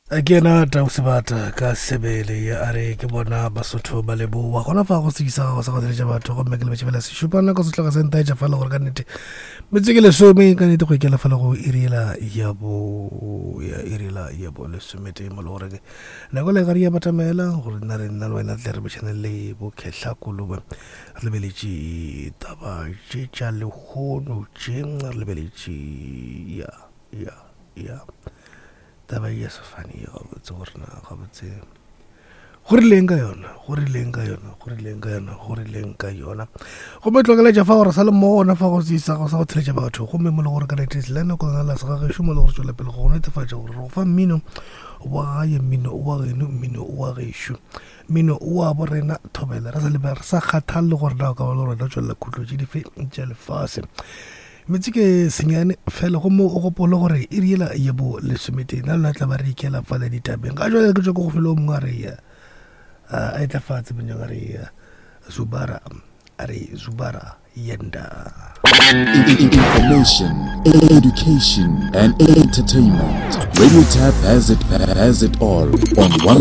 Ke yena Tau Sebata ka sebele ye a re ke bona Basotho ba leboa gona fa go sekisa gago sa go theletša batho gomme ke lebetše fela sešupa nako se tloga se ntaetša fela gore ka nnete metse ke lesome ka nnete go ikela fela go iriela ya bo ya iriela ya bo lesometee mo le gore nako le gare ya batamela gore nna re nna le wena tle re botšhane le bokhehla kolobe re lebeletše taba tše tša lehono tše re lebeletše ya ya ya Taba ye ya sefane ye gabotse gore na gabotse go rileng ka yona go rileng ka yona go rileng ka yona go rileng ka yona gomme tlokeletša fa gore sa le mo gona fa go sa go sa go theletša batho gomme mo le gore ka nete le nako lena la segagešo mo le gore tšwela pele go netefatša gore re go fa mmino wa gae mmino wa geno mmino wa gešo mmino wa bo rena thobela re sa lebe re sa kgathalele gore na o ka ba le rona tšwelela khutlo tše dife tša lefase Metsi ke senyane fela gomme o gopole gore e riela ye bo lesometee na lona tla ba re ikela fale ditabeng ga jale ke tswa ko go felo mongwe a re ya a etla fatshe monyang a re ya zubara a re zubara yenda. Information, education, and entertainment. Radio Tap has it, has it all on 1.